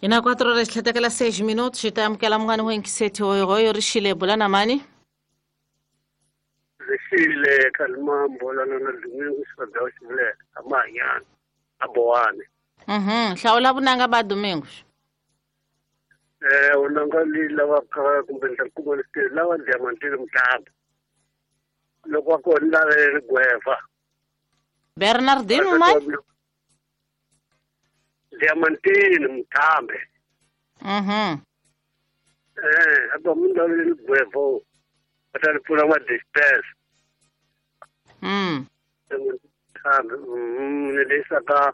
Hi na 4 horas tlhetekela 6 minutos hi ta amukela munghani wa yingiseti hoyohoyo rixile bula na mani. Rixile Kalimambo lana na Domingo Xifadzawu Xivulela a Mahanyana a Bowane. Hlawula vunanga ba Domingos. Vunanga leyi lavaka kumbe ni ta kuma ni swi lava diamantini mutamba. Loko wa kona ni lavele rigweva. Bernardino mani? Diamantini Muthambe. Hapa munhu lavele rigweva va ta ni pfuna ma disperse. Muthambe. Ni leyisa ka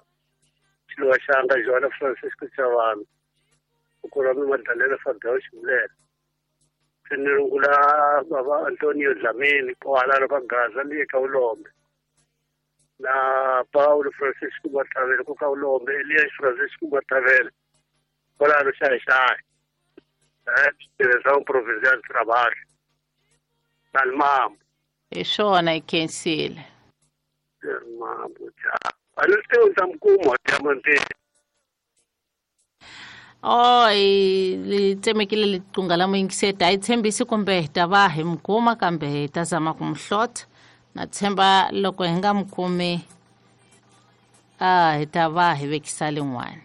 xiluva xanga Joana Francisco Chavani. Ukura mi Madalena Fabio Xivulela. Se ni rungula baba Antonio Dlamini kwalano ka Gaza ni ka Ulombe. Na Paulo Francisco Matavele ku ka Ulombe, Elias Francisco Matavele kwalano Xayi-Xayi. Direção Provincial de Trabalho. Kalimambo. Hi swona hi khensile. Kalimambo ja. A ni swi tivi ta mukuma diamantini. Oh, li tsemekile liqunga la muyingiseti a yi tshembisi kumbe hi ta va hi mi kuma kambe hi ta zama ku mi hlota na tshemba loko hi nga mi kumi a hi ta va hi vekisa lin'wani.